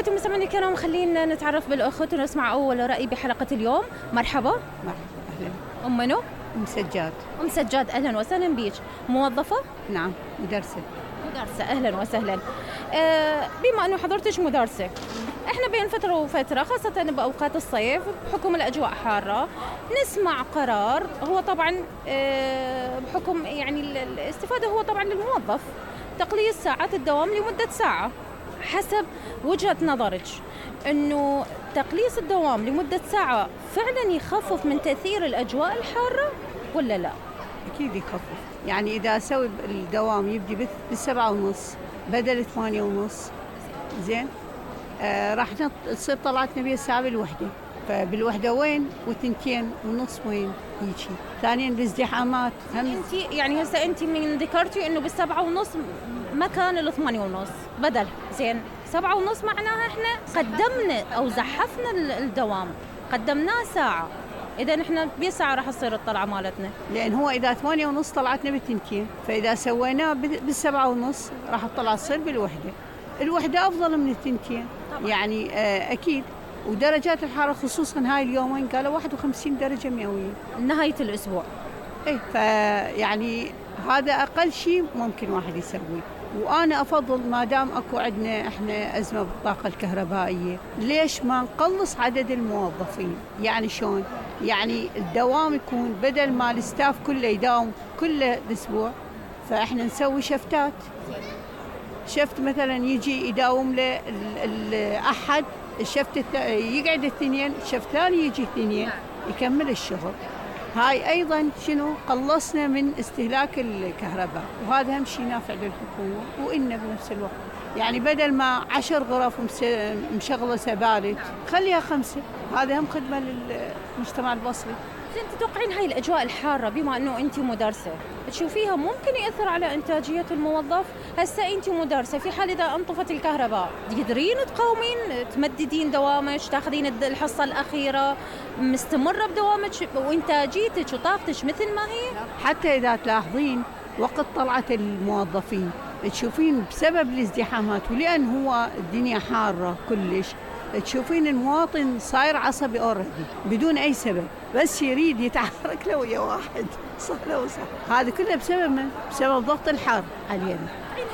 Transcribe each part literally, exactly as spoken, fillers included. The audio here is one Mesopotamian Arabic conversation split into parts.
متابعتي ومستمعينا الكرام، خلينا نتعرف بالأخت ونسمع أول رأي بحلقة اليوم. مرحبا. مرحبا، أهلا. أم منو؟ أم سجاد. أم سجاد، أهلا وسهلا بيك. موظفة؟ نعم، مدرسة. مدرسة، أهلا وسهلا. آه بما أنه حضرتك مدرسة، احنا بين فترة وفترة خاصة بأوقات الصيف بحكم الأجواء حارة نسمع قرار، هو طبعا آه بحكم يعني الاستفادة هو طبعا للموظف تقليص ساعات الدوام لمدة ساعة. حسب وجهة نظرك، انه تقليص الدوام لمدة ساعة فعلا يخفف من تأثير الأجواء الحارة ولا لا؟ أكيد يخفف. يعني إذا أسوي الدوام يبدي بالسبعة ونص بدل ثمانية ونص، زين آه راح تصير طلعتنا بها الساعة بالوحدة، فبالوحدة وين وثنتين ونص وين هيجي. ثانيا الازدحامات هم. انت يعني هسه انت من ذكرتي انه بالسبعة ونص مكان الثمانية ونص بدل، زين سبعة ونص معناها احنا قدمنا او زحفنا الدوام، قدمناه ساعة، إذا نحن بساعة راح تصير الطلعة مالتنا. لأن هو إذا ثمانية ونص طلعتنا بالتنتين، فإذا سويناه بالسبعة ونص راح الطلعة تصير بالوحدة. الوحدة أفضل من التنتين طبعا. يعني آه أكيد. ودرجات الحرارة خصوصا هاي اليومين قالوا واحد وخمسين درجة مئوية نهاية الأسبوع. إيه، فيعني هذا أقل شيء ممكن واحد يسويه. وأنا أفضل ما دام أكو عندنا إحنا أزمة بالطاقة الكهربائية، ليش ما نقلص عدد الموظفين؟ يعني شلون؟ يعني الدوام يكون بدل ما الستاف كله يداوم كل الأسبوع، فإحنا نسوي شفتات. شفت مثلا يجي يداوم له الأحد، الشفت يقعد الاثنين، الشفت الثاني يجي اثنين يكمل الشغل. هاي أيضا شنو قلصنا من استهلاك الكهرباء، وهذا هم شيء نافع للحكومة وإلنا بنفس الوقت. يعني بدل ما عشر غرف مشغلة سبالت خليها خمسة، هذا هم خدمة للمجتمع البصري. زين، تتوقعين هاي الأجواء الحارة بما أنه أنت مدرسة تشوفيها ممكن يأثر على إنتاجية الموظف؟ هسه أنت مدرسة، في حال إذا انطفت الكهرباء تقدرين تقاومين تمددين دوامك، تاخذين الحصة الأخيرة مستمرة بدوامك وإنتاجيتك وطاقتك مثل ما هي؟ حتى إذا تلاحظين وقت طلعة الموظفين تشوفين بسبب الازدحامات، ولأن هو الدنيا حارة كلش، تشوفين المواطن صاير عصبي أوريدي بدون أي سبب، بس يريد يتحرك له ويا واحد صح لو صح. هذا كله بسبب من؟ بسبب ضغط الحر علينا.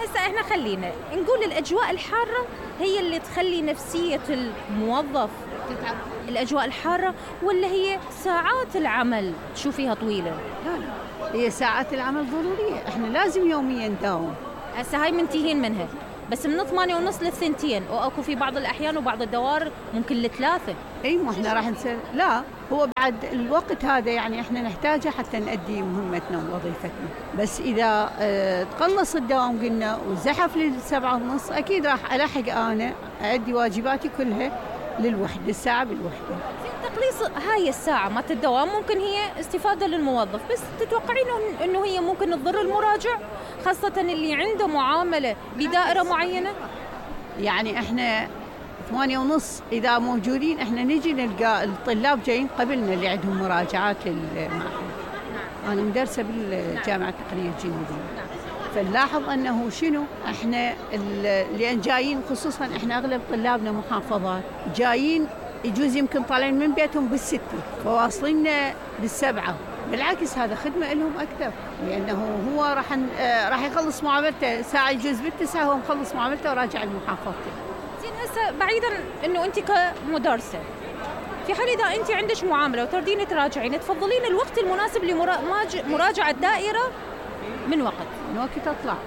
هسه احنا خلينا نقول الأجواء الحارة هي اللي تخلي نفسية الموظف تتعب، الأجواء الحارة، ولا هي ساعات العمل تشوفيها طويلة؟ لا لا، هي ساعات العمل ضرورية، احنا لازم يوميا نداوم. هسه هاي منتهين منها، بس من ثمانية ونص للثنتين، واكو في بعض الأحيان وبعض الدوار ممكن لثلاثة. اي، ما احنا راح نسوي. لا، هو بعد الوقت هذا يعني احنا نحتاجه حتى نؤدي مهمتنا ووظيفتنا، بس إذا اه تقلص الدوام قلنا وزحف للسبعة ونص، أكيد راح ألحق أنا أؤدي واجباتي كلها للوحدة، الساعة بالوحدة. تقليص هاي الساعة مالت الدوام ممكن هي استفادة للموظف، بس تتوقعين إنه هي ممكن تضر المراجع خاصة اللي عنده معاملة بدائرة معينة؟ يعني احنا ثمانية ونص إذا موجودين احنا نجي نلقى الطلاب جايين قبلنا اللي عندهم مراجعات للمعهد. أنا مدرسة بالجامعة التقنية الجنوبية، فنلاحظ أنه شنو احنا اللي جايين، خصوصا احنا أغلب طلابنا محافظات جايين، يجوز يمكن طالعين من بيتهم بالستة فواصلين بالسبعة. بالعكس هذا خدمة لهم أكثر، لأنه هو راح راح يخلص معاملته ساعة، يجوز بالتسعة هو مخلص معاملته وراجع لمحافظته. زين، هسه بعيدا إنه أنت كمدرسة، في حال إذا أنت عندك معاملة وتردين تراجعين، تفضلين الوقت المناسب لمراجعة الدائرة من وقت؟ من وقت أطلع.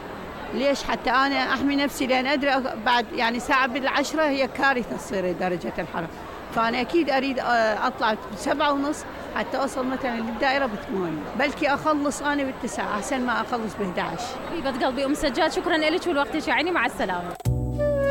ليش؟ حتى أنا أحمي نفسي، لأن أدري بعد يعني ساعة بالعشرة هي كارثة تصير درجة الحرارة، فأنا أكيد أريد أطلع بسبعة ونص حتى أوصل مثلا للدائرة بثمانية، بلكي أخلص أنا بالتسعة أحسن ما أخلص بإحدى عشر. حبيبة قلبي أم سجاد، شكرا لك ولوقتك، يعني مع السلامة.